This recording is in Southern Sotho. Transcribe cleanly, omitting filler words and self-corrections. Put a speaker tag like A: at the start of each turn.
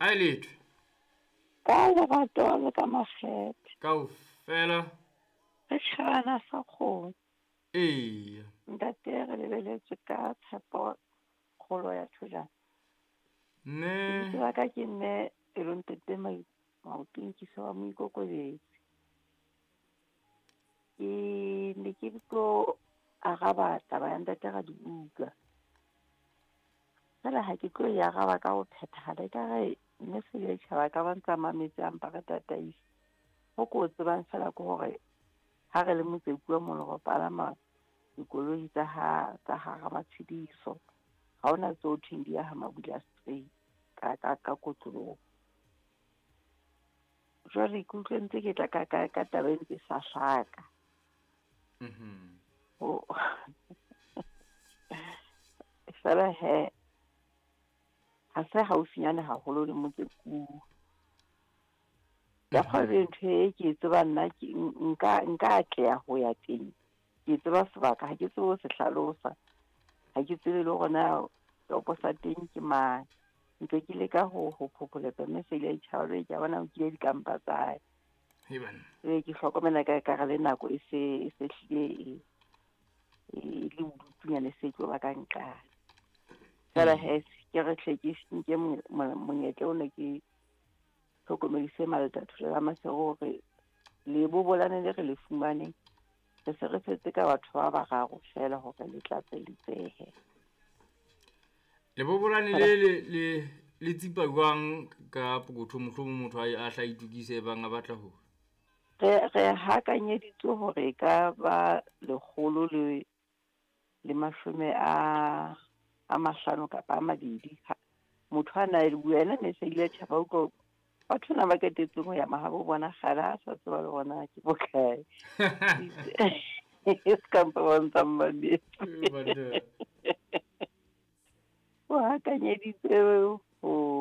A: A e letho.
B: Ka lerato le ka makgethe.
A: Kaofela.
B: Re tjhabana sa kgomo.
A: Eya.
B: Ntate re lebeletswe ka tshepo kgolo ya thojana.
A: Mme.
B: Lebitso la ka ke mme Pelontete Maotong ke wa Moikokobetsi. Ke ne ke tlo araba taba ya ntate Radibuka. Fela ha ke tlo e araba ka ho phethahala ekare mme Seleitjhaba ka ba ntsa mametse a mpa re tataisa. Ho ko tsebang fela ke hore ha re le Motsekua mono re palama dikoloi tsa ha tsa hara matshediso. Ha hona tseo thweng di ya ha Mabula straight ka kotloloho. Jwale ke utlwe ntse ke tla ka taba e ntse sa hlaka. Fela he ha se haufinyane haholo le Motsekua. Ya kgwebo ntho e ke e tsebang nna ke nka atleha ho ya teng. Ke tseba sebaka, ha ke tsebe ho se hlalosa. Ha ke tsebe le hore na topo sa teng ke mang. Ntse ke leka ho phopholetsa mme se ile tjhaba jwale ke a bona o nkile dikampa tsa hae. Ee, ke hlokomela ka ekare le nako e se hlile e le bodutunyana e se tlo ba ka nqane. Fela he ke re hle ke nke monyetla ona ke hlokomedise Maletathole la Maseru hore lebobolane le re le fumaneng re se re setse ka batho ba bararo fela hore le tlatselitsehe.
A: Lebobolane le tsipa jwang ka pokotho mohlomong motho a hla itukise bang a batla ho?
B: Re hakanyeditswe hore e ka ba 150 kapa a 2. Motho a na le bua ena ne se ile tjhaba utlwa batho na ba ketetseng ho ya mahabo bona kgale ha sa tseba le bona ke bokae. E ska mpa ba ntsa mmametse. O hakanyeditse